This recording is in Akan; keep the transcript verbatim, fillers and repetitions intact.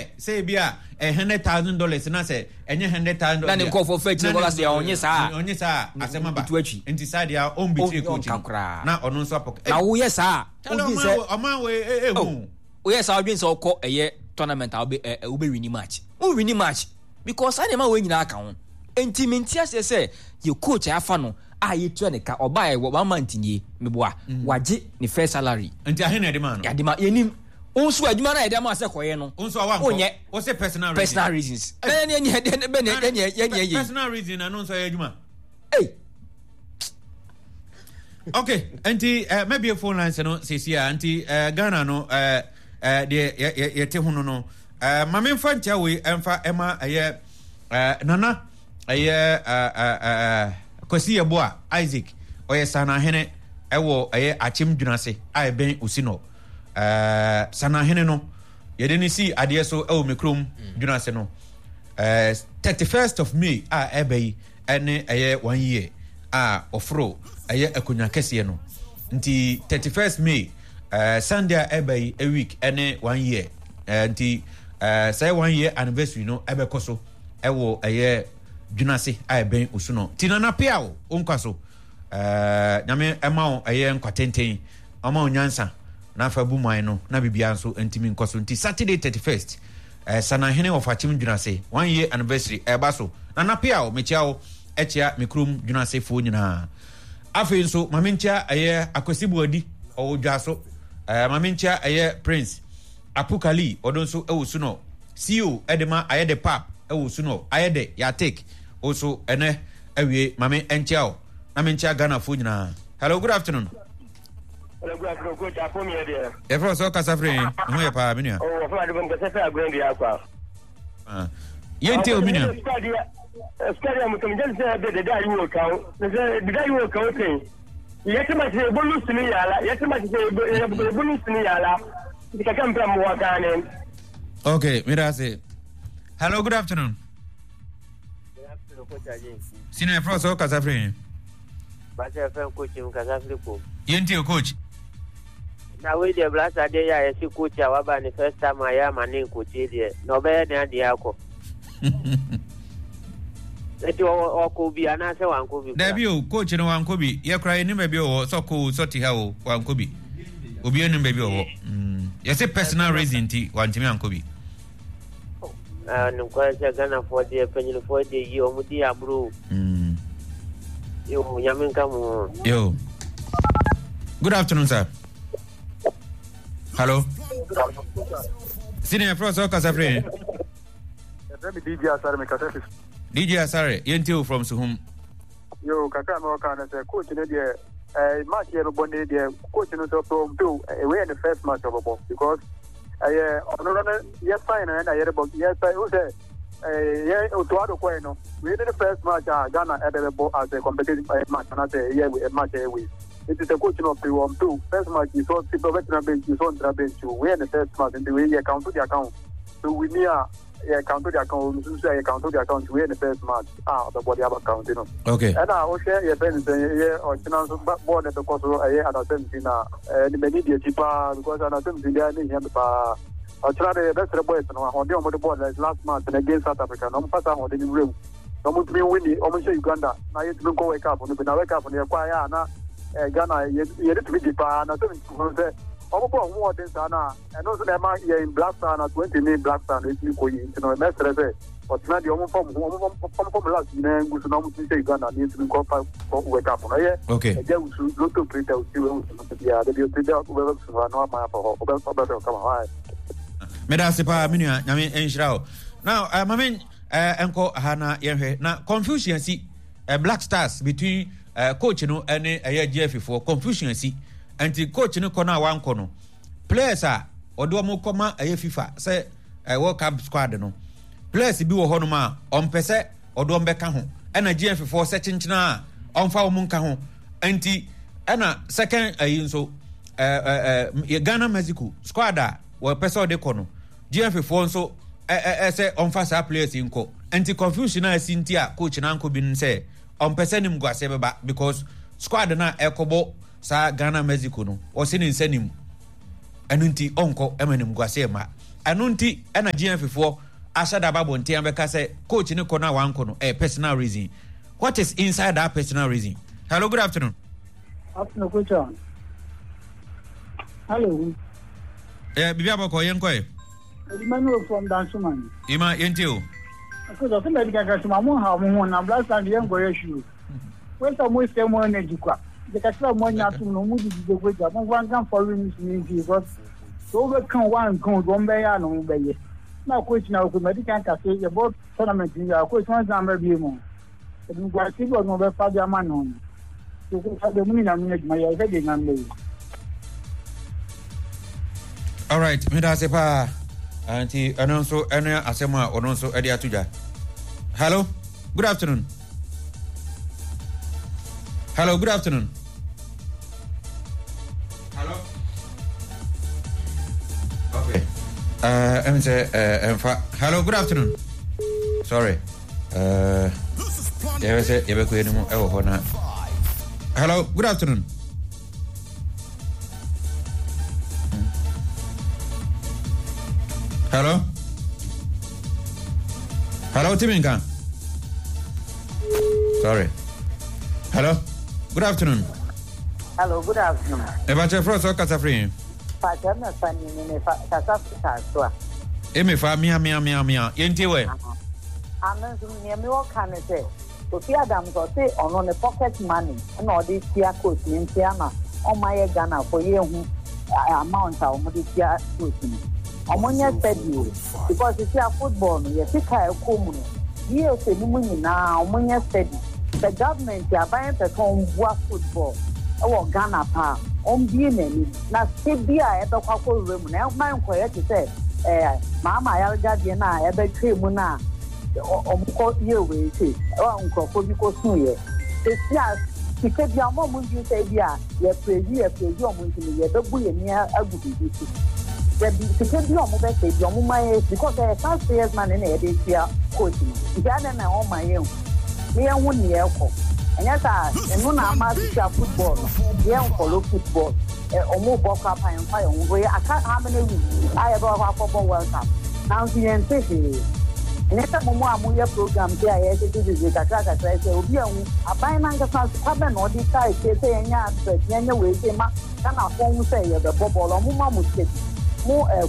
compare sɛ ebi a ɛ hundred thousand dollars na sɛ ɛnyɛ hundred thousand Na ne nkɔfoɔ fɛ akyire kɔka sɛ ɔnye saa. Ɔnye saa, asɛm aba. Ntu akyi. Nti saa deɛ, ɔmbitire coach ɔnka no koraa. Na ɔno nso apɔ. Na woyɛ saa, Kyale, wodwen sɛ ɔman wei ɛ Oh, woyɛ saa, wodwen sɛ wokɔ ɛyɛ tournament a wobɛ ɛ ɛ wobɛwin match, wowin match because saa nneɛma wei nyinaa ka ho. Enti mente aseɛ sɛ yɛ coach a yɛafa no a yɛtua ne ka, ɔbaa yɛ one month nie, meboa, wagye ne first salary. Nti ahe na ɛde maa no? Yɛde ma yɛnim wo nso adwuma no a yɛde ama sɛ kɔyɛ no. Wo nso a wankɔ. Wonyɛ. Wose personal reason. Personal reasons ɛne ɛne ɛne ɛne ɛne ɛne ɛyɛ. Personal reason na no nso ɛyɛ adwuma. Ei. Okay, nti uh, mɛbie phone lines no sesi a. Nti uh, Ghana no, uh, uh, deɛ yɛ- yɛ- yɛte ho no no uh, ma memfa nkyɛ wei ɛmfa ɛma ɛyɛ uh, Nana ɛyɛ uh, uh, uh, Kwasi Yɛboa Isaac, ɔyɛ Sanahene ɛwɔ ɛyɛ Akyem Dwunase a ɛbɛn Osi no. uh, sanahene no yɛde ne si adeɛ so ɛwɔ me kurom Dwunase no, uh, thirty-first of May a ɛbɛ yi ɛne ɛyɛ one year a ɔforo ɛyɛ akonnwa kɛseɛ no. Nti thirty-first May, uh, Sunday a ɛbɛ yi, a week ɛne one year. uh, nti uh, sɛ one year anniversary no ɛbɛkɔ so ɛwɔ ɛyɛ Dwunase a ɛbɛn Osu no. Nti Nana Pia o, wonkwa so, uh, Nyame ɛma wo ɛyɛ nkwa tenten, ɔma wo nyansa na afa bu man no na biribiara nso ntumi nkɔ so. Nti Saturday thirty-first, uh, Sanahene Ɔfakyem Dwunase one year anniversary ɛba so. Nana Pia o, mekyia wo, ɛkyia me kurom Dwunasefoɔ nyinaa. Afei nso maame nkyia ɛyɛ Akwasi Buadi, ɔwɔ dwa so. ɛɛ maame nkyia ɛyɛ Prince Apukali, ɔno nso ɛwɔ su no, C E O ɛde ma ayɛ de pap ɛwɔ su no, ayɛ de yatek nso ɛnɛ awie. Maame nkyia o, na me nkyia Ghanafoɔ nyinaa. Hello, good afternoon. Hello, good afternoon, Coach. Afo mi yɛ deɛ. Yɛfrɛ sɛ ɔkasa firi ne ho yɛ paa, me nua. Oh, wɔfrɛ ade bɔ nkɛsɛ fɛ agorɔ dua akɔ. Ah. Yɛntie o, me nua. Sukari a mutum jɛn sɛ bɛ deda yi wɔ kan sɛ deda yi wɔ kan sɛn yɛte ma sɛ ebolu sini yala, yɛte ma sɛ ebolu sini yala nti kaka mpɛ mu wɔ kan ne. Okay, meda ase. Hello, good afternoon. Senior, yɛfrɛ sɛ ɔkasa firi he? Bàtɛ fɛn coach mu kasa firi kom. Yɛntie o, coach. Na wei deɛ, Blaster deɛ, yɛ a yɛsi coach a waba ne first time a yɛ ama ne nkokye deɛ, na ɔbɛyɛ ne adeɛ akɔ. Nti ɔkɔ bi anaasɛ wankɔ bi? Dabi o, coach no wankɔ bi. Yɛkora yɛnim baabi ɔwɔ, sɛ ɔkɔ o, sɛ ɔte ha o, wankɔ bi. Obi anim baabi ɔwɔ. Mm. Yɛsɛ personal reason nti wantumi ankɔ bi. Nokware sɛ Ghanafoɔ deɛ, panyinifoɔ deɛ yi ɔmo di aburo o. Mm. Yo, Nyame nka mo ho. Yo. Good afternoon, sir. Hello. Senior, yɛfrɛ sɛ ɔkasa firi he? Yɛfrɛ me D J Asare, mekasa fi. D J Asare, yɛntie wo from Suhum. Yo, kakra me wɔka no sɛ coach no deɛ, eh, match yɛ bɛbɔ ne deɛ, coach no sɛ ɔpɛ ɔmpɛ o, eh, wei yɛ ne first match ɔbɛbɔ because ɛyɛ ɔno no no yɛ sign no ɛna yɛrebɔ yɛ sɛ wo sɛ eh, yɛ Otto Addo kɔɛ no, wei ne ne first match a Ghana ɛbɛ bɛbɔ as a competitive eh, match anaasɛ ɛyɛ match ɛyɛ wei. Nti sɛ coach no ɔpɛ o ɔmpɛ o, first match yi, sɛ ɔte ɔbɛtena bench yi, sɛ ɔntena bench o, wei yɛ ne first match. Nti wei yɛ count de aka ho so wini a, yɛ count de aka ho nso a yɛ count de aka ho. Nti wei yɛ ne first match a ɔbɛbɔ de aba count no. Okay. Ɛna wohwɛ yɛfrɛ no sɛ yɛ ɔkyena nso bɔɔl no bɛkɔ so ɛyɛ under seventeen na ɛne m'ani di akyi paa because under seventeen deɛ ne hia me paa. Ɔkyena de yɛbɛsrɛ boys no ahoɔden a wɔde bɔɔl last match no against South Africa na ɔmfa saa ahoɔden no nwura mu na ɔmo ntumi nwin, ɔmo nhyɛ Uganda na yɛntumi nkɔ World Cup no bi. Na World Cup no yɛkɔ ayɛ a na Ghana yɛde tumi gye paa na seventeen no sɛ ɔmo bɔ ɔmo ɔden saa na ɛno nso na ɛma yɛn Black Star na twenty ne Black Star na ɛtumi kɔ yi. Nti no mɛsrɛ sɛ ɔtena deɛ ɔmo fam ho ɔmo fam last nyinaa ngu so na ɔmo tumi hyɛ Uganda na yɛntumi nkɔ fa kɔ World Cup no. Ɛyɛ Okay. ɛgya wusu lotto operator osi wɔ wusu no biara de bi osi dɛ ɔbɛbɛ so hɔ na ɔma afa hɔ ɔbɛ ɔbɛhwɛ ɔkama hɔ ayɛ. Meda ase paa, me nua. Nyame nhyira wo. Now uh, mame uh, nkɔ ha na yɛnhwɛ na confusion si uh, Black Stars between uh, coach no ne ɛyɛ G F A foɔ. Confusion si nti coach no kɔ no a wankɔ no, players a ɔde wɔn kɔma ɛyɛ FIFA sɛ uh, World Cup squad no, players bi wɔ hɔnom a ɔmpɛ sɛ ɔde wɔn bɛka ho, ɛna G F A foɔ sɛ kyenkyena a ɔmfa wɔn nka ho. Nti ɛna second ɛyi nso ɛɛ ɛɛ Ghana Mexico squad a wɔpɛ sɛ ɔde kɔ no, G F A foɔ nso ɛ ɛ sɛ ɔmfa saa players yi nkɔ. Nti confusion a ɛsi nti a coach na ankɔ bi no sɛ ɔmpɛ sɛ nim guaseɛ bɛba because squad no a ɛkɔbɔ saa Ghana Mexico no, ɔsi ne nsa nim, ɛno nti ɔnkɔ ɛma nim guaseɛ ma. Ɛno nti ɛna G F A foɔ ahyɛ da ba abɔnten abɛka sɛ coach ne kɔ no a wankɔ no ɛyɛ personal reason. What is inside that personal reason? Hello, good afternoon. Afternoon, coach. Hello. Eh, bibi abɔkɔ, yɛn kɔ yɛ. Emmanuel from Dansoman. Ima, yɛn ti o. Coach, ɔsɛ mɛdi kakra sɛ mo ha mo ho na Black Stars yɛn nkɔyɛ hwee. Wọ́n sɛ mo sɛ mo energy kwa. De kakra mo anya atum no mo di di gbogbo gya mo nfa nka foreign news ni nti because so wobɛka wa nka o wɔn bɛyɛ a na wɔn bɛyɛ. Na coach na okɔ mɛdi kan kase yɛ bɔ tournament ni yɛ coach wɔn san bɛ bie mu. Ebi nkwasi bi ɔno ɔbɛfa de ama no no. So coach de mu ni nyame adwuma yɛ ɛhwɛ de nyame bɛyɛ. Alright, meda ase paa. Nti ɛno nso ɛne asɛm a ɔno nso ɛde ato dwa. Hello, good afternoon. Hello, good afternoon. Hello. Okay, uh, ɛm sɛ ɛmfa. Hello, good afternoon. Sorry, uh, yɛbɛ sɛ yɛbɛkɔ anim ɛwɔ hɔ na. Hello, good afternoon. Hello? Hello, Timinka. Sorry. Hello? Good afternoon. Hello, good afternoon. Eba fro so kasa free. Pacha me fa ni ni fa kasa fa so a. Emi fa mia mia mia mia. Yenti we. Ame nso nea mi wɔ ka ne sɛ Kofi Adams ɔse ɔno ne pocket money ɛna ɔde tua coach ne nti ama ɔma yɛ Ghana fo yɛhu amount a wɔde tua coach no. Ɔmo nyɛ steady o, because sisi a football no yɛ sika a ɛkɔ mu no D F A no mu nyinaa, ɔmo nyɛ steady. Sɛ government aban pɛ sɛ ɔmboa football ɛwɔ Ghana paa, ɔmbie n'anim na sika bi a ɛbɛkɔ akɔwura mu na ɛma nkɔyɛ te sɛ ɛɛ maama ayargadeɛ no a ɛbɛtwa mu no a ɔmo kɔ yɛ wei se ɛwɔ nkurɔfoɔ bi kɔ sun yɛ sisi a sika bi a ɔmo a ɔmo ndwi sɛ bi a yɛpɛrɛzi yɛpɛrɛzi ɔmo nti no yɛbɛbu yɛn ni agu biribi so. Dabi, sika bi a ɔmo bɛsɛ bi ɔmo ma yɛ because ɛyɛ taxpayers money na yɛde tua coach no, nti adan na ɔma yɛn hu ne yɛn ho nea ɛkɔ. Ɛnyɛ saa, ɛno na ama sisi a football no yɛn follow football. Ɛ ɔmo bɔ kora pa yɛn fa yɛn ho yɛ aka how many weeks a yɛbɛ kɔ akɔbɔ World Cup, nanso yɛn te hwee. Ɛnyɛ sɛ mo mo a moyɛ program bi a yɛtete kakra kakra sɛ obi ahu aban nankasa sika bɛ na ɔde taa ekyir sɛ yɛnyɛ advert, yɛnyɛ wei sɛ ma Ghanafoɔ ho sɛ yɛbɛbɔ bɔɔl. Ɔmo ma mo sika bi mo ɛ.